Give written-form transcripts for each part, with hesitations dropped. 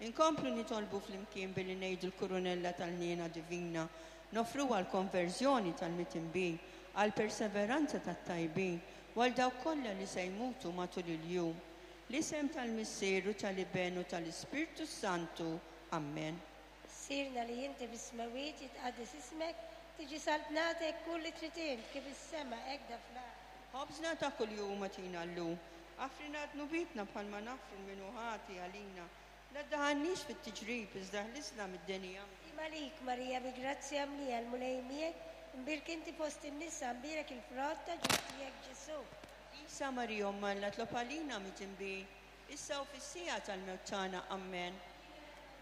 Inkomplu nitolbu flimkien billi ngħidu l-Kurunella tal-Ħniena Divina, noffruha għall-konverżjoni tal-mitinbin, għall-perseveranza tat-tajbin, u għal dawk kollha li se jmutu matul il-jum. L-isem tal-Missier u tal-Iben u tal-Ispirtu s-Santu. Ammen. Missierna li inti fis-smewwiet, jitqaddes ismek, tiġi saltnatek, kull li trid int, kif is-sema hekk da fl-art. Ħobżna ta' kuljum agħtina llum. Aħfrilna dnubietna bħalma naħfru 'l min hu ħati għalina. La ddaħħalniex fit-tiġrib, iżda ħlisna mid-deni. Ammen. Sliem għalik, Marija, bi grazzja mlija, l-Mulej miegħek, imbierk inti fost in-nisa, mbierek il-frott ta' ġuf tiegħek, Ġesù. Qdisa Marija Omm Alla, tlob għalina midinbin, issa u fis-siegħa tal-mewt tagħna. Ammen.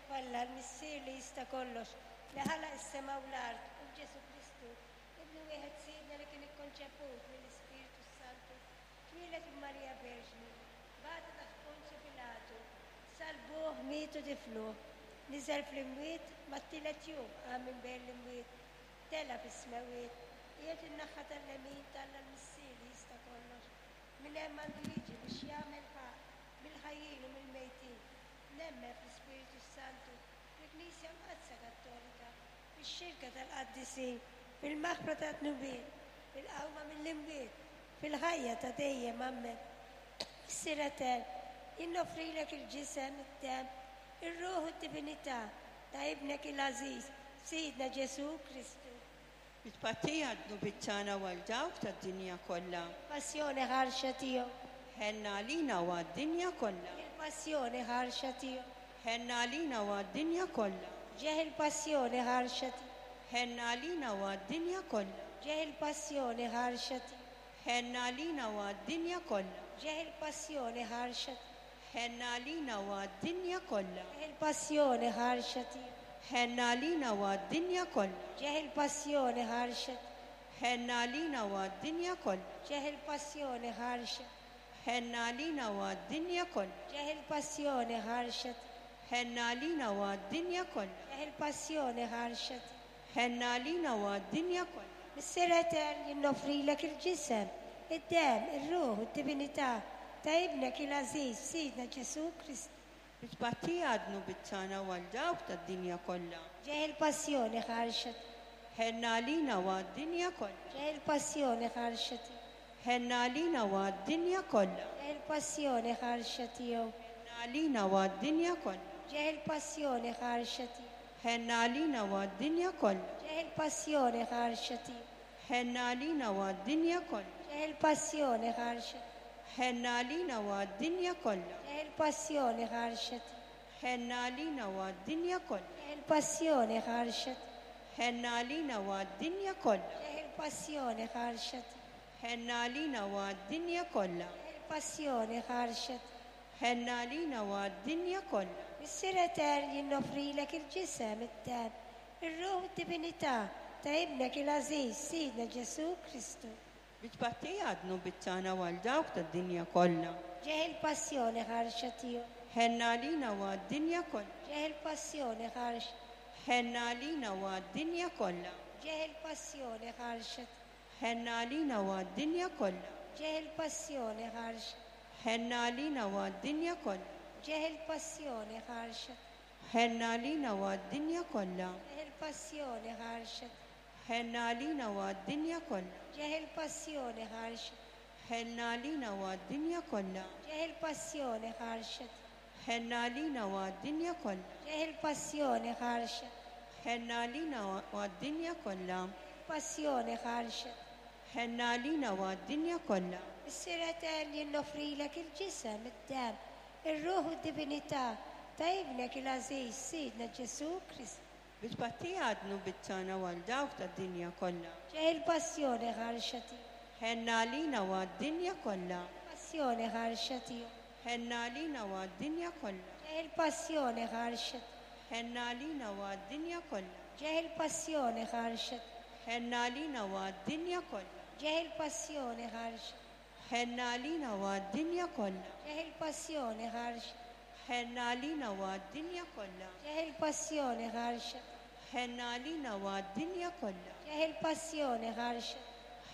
F'Alla, l-Missier li jista' kollox, li ħalaq is-sema u l-art, u f'Ġesù Kristu, Ibnu wieħed Sidna li kien ikkonċeput mill-Ispirtu s-Santu, twieled minn Marija Verġni, bata taħt Ponzju Pilatu, Salbuh, miet u difnuh. Niżel fl-imwiet, mat-tielet jum qam minn bejn l-imwiet, tela' fis-smewwiet, qiegħed in-naħa tal-lemin t'Alla l-Missier li jista' kollox. Minn hemm għandu jiġi biex jagħmel ħaqq mill-ħajjin u mill-mejtin. Nemmen fl-Ispirtu s-Santu, fil-Knisja Mqaddsa Kattolika, fix-xirka tal-qaddisin, fil-maħfra tad-dnubiet, fil-qawma mill-imwiet, fil-ħajja ta' dejjem. Ammen. Missier Etern, jien noffrilek il-ġisem, id-demm, ir-ruħ u d-divinità ta' Ibnek il-għażiż, Sidna Ġesù Kristu. Bi tpattija għad-dnubiet tagħna u għal dawk tad-dinja kollha. Il-passjoni ħarxa tiegħu. Ħenna għalina u għad-dinja kollha. Il-passjoni ħarxa tiegħu. Ħenna għalina u għad-dinja kollha. Ġeħ il-passjoni ħarxa tiegħu. Ħenna għalina u għad-dinja kollha. Ġeħ il-passjoni ħarxa tiegħu. Ħenna għalina u għad-dinja kollha. Ġeħ il-passjoni ħarxa tiegħu. Ħenna għalina u għad-dinja kollha. Ġeħ il-passjoni ħarxa tiegħu. Ħenna għalina u għad-dinja kollha. Ġeħ il-passjoni ħarxa tiegħu. Ħenna għalina u għad-dinja kollha. Ġeħ il-passjoni ħarxa. Ħenna għalina u għad-dinja kollha. Ġeħ il-passjoni ħarxa tiegħu. Ħenna għalina u għad-dinja kollha. Ġeħ il-passjoni ħarxa tiegħu. Ħenna għalina u għad-dinja kollha. Missier Etern, jien noffrilek il-ġisem, id-demm, ir-ruħ u d-divinità ta' Ibnek il-għażiż, Sidna Ġesù Kristu. Bi tpattija għad-dnubiet tagħna u għal dawk tad-dinja kollha. Ġeħ il-passjoni ħarxa tiegħu. Ħenna għalina u għad-dinja kollha. Ġeħ il-passjoni ħarxa tiegħu. Ħenna għalina u għad-dinja kollha. Ġeħ il-passjoni ħarxa tiegħu. Ħenna għalina u għad-dinja kollha. Ġeħ il-passjoni ħarxa tiegħu. Ħenna għalina u għad-dinja kollha. Ġeħ il-passjoni ħarxa tiegħu. Ħenna għalina u għad-dinja kollha. Ġeħ il-passjoni ħarxa tiegħu. Ħenna għalina u għad-dinja kollha. Ġeħ il-passjoni ħarxa tiegħu. Ħenna għalina u għad-dinja kollha. Ġeħ il-passjoni ħarxa tiegħu. Ħenna għalina u għad-dinja kollha. Ġeħ il-passjoni ħarxa tiegħu. Ħenna għalina u għad-dinja kollha. Ġeħ il-passjoni ħarxa tiegħu. Ħenna għalina u għad-dinja kollha. Missier Etern, jien noffrilek il-ġisem, id-demm, ir-ruħ u d-divinità ta' Ibnek il-għażiż, Sidna Ġesù Kristu. Bi tpattija għad-dnubiet tagħna u għal dawk tad-dinja kollha. Ġeħ il-passjoni ħarxa tiegħu. Ħenna għalina u għad-dinja kollha. Ġeħ il-passjoni ħarxa. Ħenna għalina u għad-dinja kollha. Ġeħ il-passjoni ħarxa tiegħu. Ħenna għalina u għad-dinja kollha. Ġeħ il-passjoni ħarxa. Ħenna għalina u għad-dinja kollha. Ġeħ il-passjoni ħarxa. Ħenna għalina u għad-dinja kollha. Ġeħ il-passjoni ħarxa. Ħenna għalina u għad-dinja kollha. Ġeħ il-passjoni ħarxa. Ħenna għalina u għad-dinja kollha. Ġeħ il-passjoni ħarxa. Ħenna għalina u għad-dinja kollha. Ġeħ il-passjoni ħarxa. Ħenna għalina u għad-dinja kollha. Passjoni ħarxa. Ħenna għalina u għad-dinja kollha. Missier Etern, jien noffrilek il-ġisem, id-demm, ir-ruħ u d-divinità ta' Ibnek il-għażiż, Sidna Ġesù Kristu. Bi tpattija għad-dnubiet tagħna u għal dawk tad-dinja kollha. Ġeħ il-passjoni ħarxa tiegħu. Ħenna għalina u għad-dinja kollha. Passjoni ħarxa tiegħu. Ħenna għalina u għad-dinja kollha. Ġeħ il-passjoni ħarxa tiegħu. Ħenna għalina u għad-dinja kollha. Ġeħ il-passjoni ħarxa tiegħu. Ħenna għalina u għad-dinja kollha. Ġeħ il-passjoni ħarxa. Ħenna għalina u għad-dinja kollha. Ġeħ il-passjoni ħarxa. Ħenna għalina u għad-dinja kollha. Ġeħ il-passjoni ħarxa. Ħenna għalina u għad-dinja kollha. Ġeħ il-passjoni ħarxa.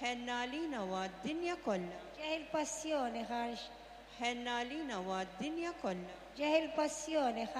Ħenna għalina u għad-dinja kollha. Ġeħ il-passjoni ħarxa. Ħenna għalina u għad-dinja kollha. Ġeħ il-passjoni ħarxa.